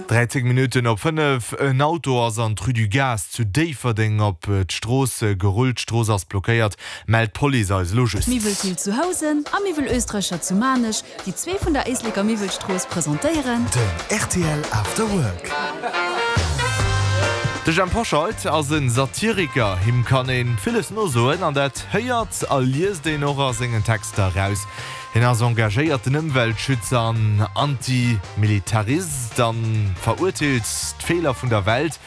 13 Minutten op 5, En Auto ass an d'Rue du Gaz zu Déifferdeng op d'Strooss gerullt. D'Strooss ass blockéiert, mellt d'Police eis elo just. Miwwel Thill zu Housen a Miwwel Oestreicher zu Maarnech, déi zwee vun der Éisleker Miwwelstrooss, presentéieren. Den rtl After Work. De Jhemp Hoscheit ass e Satiriker. Him kann ee villes nosoen an dat héiert a liest een och a sengen Texter eraus. Hien ass engagéierten Ëmweltschützer an Antimilitarist a verurteelt d'Feeler vun der Welt.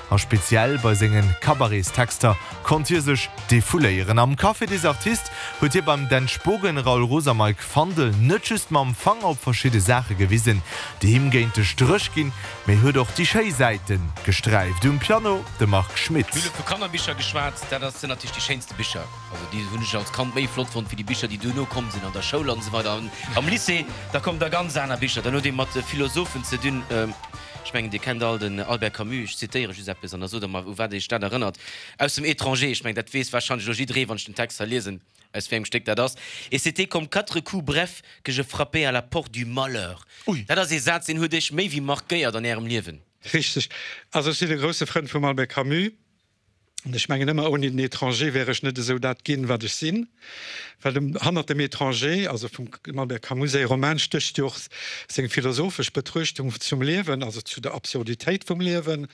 A speziell bei senge Cabaretstexter konnt hie sech defouléieren. Am Café des Artistes huet hie beim Dan Spogen, Raoul Roos a Mike Fandel net just mam Fanger op verschidde Saache gewisen, déi him géint de Stréch ginn, mee huet och déi schéi Säite gesträift. Um Piano de Marc Schmitt. Mir hu vu Kannerbicher geschwat, dat ass sinn natierlech déi schéinste Bicher. Also déi hunn ech als Kand méi flott fonnt wéi déi Bicher, déi duerno komm sinn an der Schoul an esou weider. An am Lycée, da kommen da ganz aner Bicher. Dann huet ee mat Philosophen ze dinn. Ech mengen, Dir kennt all den Albert Camus. Ech zitéiere just eppes an da sot Der mer, u wat Iech dat erënnert. Aus dem Étranger. Ech mengen, dat weess warscheinlech elo jidderee, wann ech den Text hei liesen, aus wéi engem Stéck dat ass. Et c'était comme quatre coups brefs que je frappais à la porte du malheur. Dat ass ee Saz, deen huet Iech méi wéi markéiert an Ärem Liewen. Richteg. Also ech sinn e grousse Frënd vum Albert Camus. An ech mengen ëmmer, ouni den Étranger wär ech net esou dat ginn, wat ech sinn. Well hannert dem Étranger, also vum Albert Camus säi Roman, stécht jo och seng philosophesch Betruechtung zum Liewen, also zu der Absurditéit vum Liewen,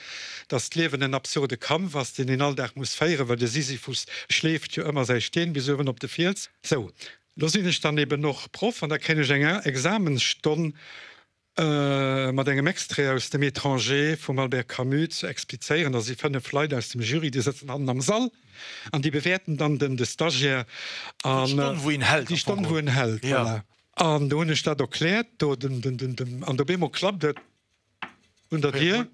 dass d'Liewen en absurde Kampf ass, deen een all Dag muss féieren, well de Sisyphus schleeft jo ëmmer säi Steen bis uewen op de Fiels. Sou, lo sinn ech dann eben och Proff an da kréien ech eng Examensstonn mat engem Extrait aus dem Étranger vum Albert Camus ze explizéieren. Da si 5 Leit aus dem Jury, déi sëtzen hannen am Sall an déi bewäerten dann den de Stagiaire an Déi Stonn, wou een hält. Déi Stonn, wou en hält, voilà. An do hunn ech dat erkläert do dem, dem, dem, dem, an op eemol klappt et un der Dier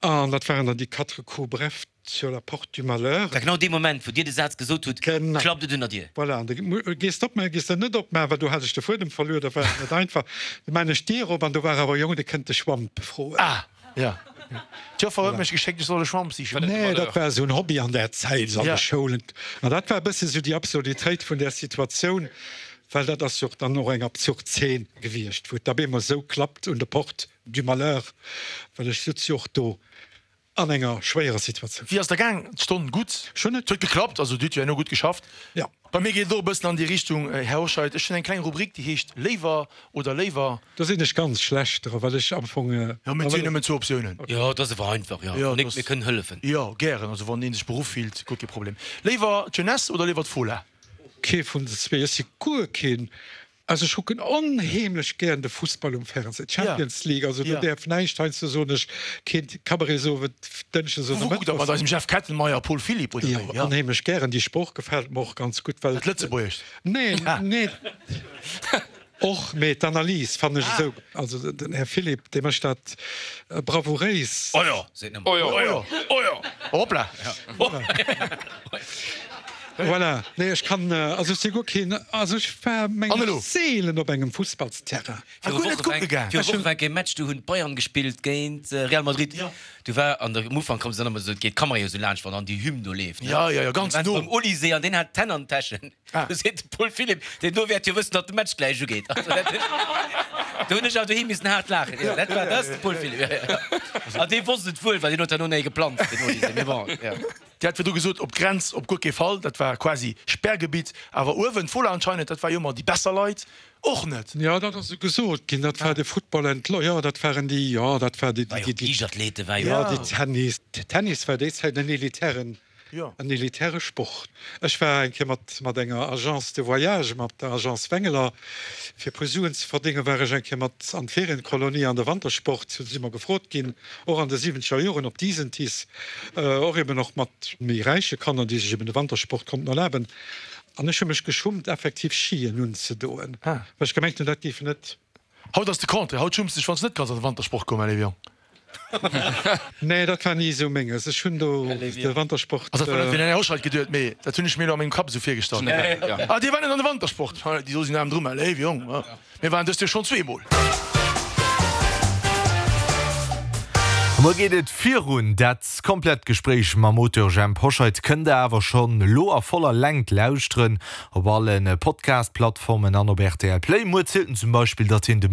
an dat waren dann déi quatre coups brefs sur la porte du malheur. War genau dee Moment, wou Dir de Saz gesot hutt, klappt et un der Dier. Voilà, an da gees de opmaachen, gees de net opmaachen, well do hat ech de Fuedem verluer, da war et net einfach. Du maan ech d'Dier op an do war awer e Jong, dee kënnt de Schwamp froen. Ah, ja. D'Joffer huet mech geschéckt, ech soll e Schwamp sichen. Nee, dat war esou en Hobby an där Zäit an de Schoulen. An dat war e bësse sou déi Absurditéit vun där Situatioun, well dat ass jo och dann och eng absurd Zeen gewiescht, wou et da bemol esou klappt un de Porte du malheur, well ech sutz jo och do an enger schwéierer Situatioun. Wéi ass der gaang? D'Stonn gutt? Ech hunn et. Huet geklappt, also Dir hutt jo herno gutt geschafft. Jo. Bei mir geet et och e bëssen an déi Richtung, Här Hoscheit. Ech hunn eng kleng Rubrik, déi heescht Léiwer oder léiwer. Do sinn ech ganz schlecht dra, well ech am Fong. Jo, mee et sinn nëmmen zwou Optiounen. Jo, et ass awer einfach, jo. Jo, Nick, mir kënnen hëllefen. Jo, gären. Also wann ee sech beruff fillt, guer kee Problem. Léiwer d'Jeunesse oder léiwer d'Fola? Kee vun den zwee. Ech si guer keen. Also ech kucken onheemlech gären de Fussball um Fernseh, d'Champions League, also do däerf näischt, heiansdo soen ech keen Cabaret-Sowend, Dënschdes oder Wou kuckt Der? Mat Mëttwochs. eisem Jeff Kettenmeyer, Paul Philipp oder Jo, wéi? onheemlech gären. Déi Sprooch gefält mer och ganz gutt, well. Dat Lëtzebuergescht? Nee, nee, och, mee d'Analys fannen ech esou, also den Här Philipp, dee mécht dat bravouréis. Oh jo, seet nëmmen. Oh jo, oh jo, oh jo, hoppla. Voilà, nee ech kann, also ech si guer keen, also ech war mengen ech seelen op engem Fussballsterrain. Ah, guer net kucke gaang? Viru Woche war kee Match, du hunn d'Bayern gespillt géint Real Madrid. Du war an der, um Ufank koum se dann ëmmer esou, et geet d'Kamera jo esou laanscht, wann dann déi Hymn do leeft, ne? Ja, ja, ja, ganz no. Beim Olysée an deen hat d'Hänn an den Täschen. Du seet de Paul Philipp, deen do wäert jo wëssen, datt de Match gläich ugeet. Also dat, do hunn ech awer doheem missen haart laachen. Jo, dat war, dat ass de Paul Philipp, jo, jo. An dee wosst et wuel, well deen huet herno néi geplanzt, den Olysée, mee bon, jo. Dir hat virdru gesot, op d'Grenz op guer kee Fall, dat war quasi Sperrgebitt. Awer uewen, d'Fola anscheinend, dat war jo ëmmer déi besser Leit, och net. Jo, dat ass esou gesot ginn, dat war de Football entlo, jo, dat waren déi, jo, dat war déi, War jo déi, Liichtathlete war jo. jo, déi Tennis, Tennis war déi Zäit en elitären, en elitäre Sport. Ech war eng Kéier mat, mat enger Agence de voyage, mat der Agence Wengeler, fir e puer Suen ze verdéngen, war ech eng Kéier mat an d'Ferienkolonie an de Wantersport, do si mer gefrot ginn, och an de siwwenzeger Joren op Disentis, och eben och mat méi räiche Kanner, déi sech eben de Wantersport konnten erlaben. An ech hu mech geschummt, effektiv Skien unzedoen, well ech gemengt hunn, dat géif net. Haut ass de Contraire, haut schumms de dech, wann s de net kanns an de Wantersport goen, mäi léiwe Jong. Nee, dat war ni esou menges. Ech hunn do de Wantersport. Also dat war net wéi den Här Hoscheit geduet, mee dat hunn ech mir elo a mengem Kapp esou virgestallt. Ah, Dir waart net an de Wantersport? Déi do sinn aarm dru, mäi léiwe Jong. Mir waren dëst Joer schonn zweemol. A muer geet et virun. Dat komplett Gespréich mam Auteur Jhemp Hoscheit kënnt der awer schonn elo a voller Längt lauschteren op alle Podcast-Plattformen an op rtl Play. Muer zielt en zum Beispill, datt hien de.